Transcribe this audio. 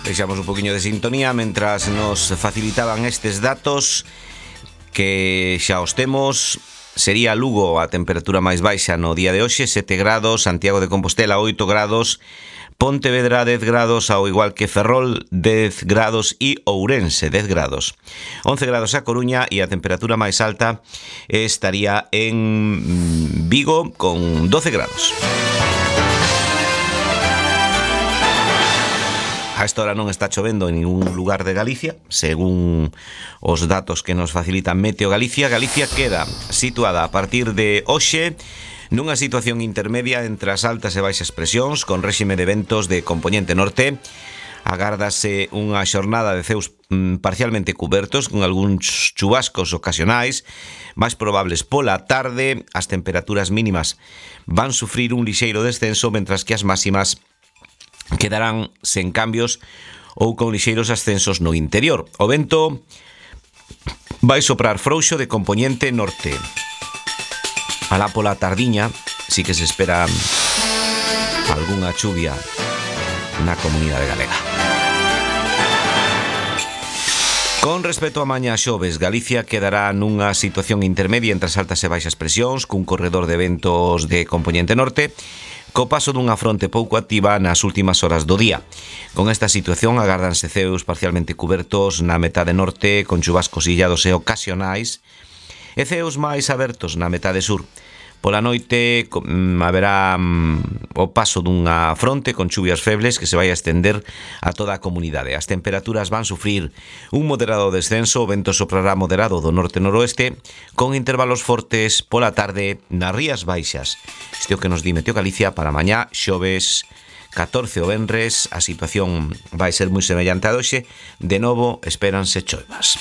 Deixamos un poquinho de sintonía mentras nos facilitaban estes datos que xa os temos. Sería Lugo a temperatura máis baixa no día de hoxe, 7 grados, Santiago de Compostela 8 grados, Pontevedra 10 grados, ao igual que Ferrol 10 grados e Ourense 10 grados. 11 grados a Coruña e a temperatura máis alta estaría en Vigo con 12 grados. A esta hora non está chovendo en ningún lugar de Galicia, según os datos que nos facilitan Meteo Galicia. Galicia queda situada a partir de hoxe nunha situación intermedia entre as altas e baixas presións, con réxime de ventos de compoñente norte. Agárdase unha xornada de ceus parcialmente cubertos, con algúns chubascos ocasionais, máis probables pola tarde. As temperaturas mínimas van sufrir un lixeiro descenso, mentras que as máximas quedarán sen cambios ou con lixeiros ascensos no interior. O vento vai soprar frouxo de compoñente norte. Alá pola tardiña si que se espera algunha chuvia na comunidade galega. Con respecto a mañá xoves, Galicia quedará nunha situación intermedia entre as altas e baixas presións, cun corredor de ventos de compoñente norte, co paso dunha fronte pouco activa nas últimas horas do día. Con esta situación agárdanse ceus parcialmente cubertos na metade norte, con chubascos illados e ocasionais, e ceus máis abertos na metade sur. Pola noite haberá o paso dunha fronte con chuvias febles que se vai a estender a toda a comunidade. As temperaturas van sufrir un moderado descenso, o vento soprará moderado do norte-noroeste, con intervalos fortes pola tarde nas Rías Baixas. Isto é o que nos di Meteo Galicia para mañá, xoves 14 o venres. A situación vai ser moi semellante a hoxe. De novo, espéranse choivas.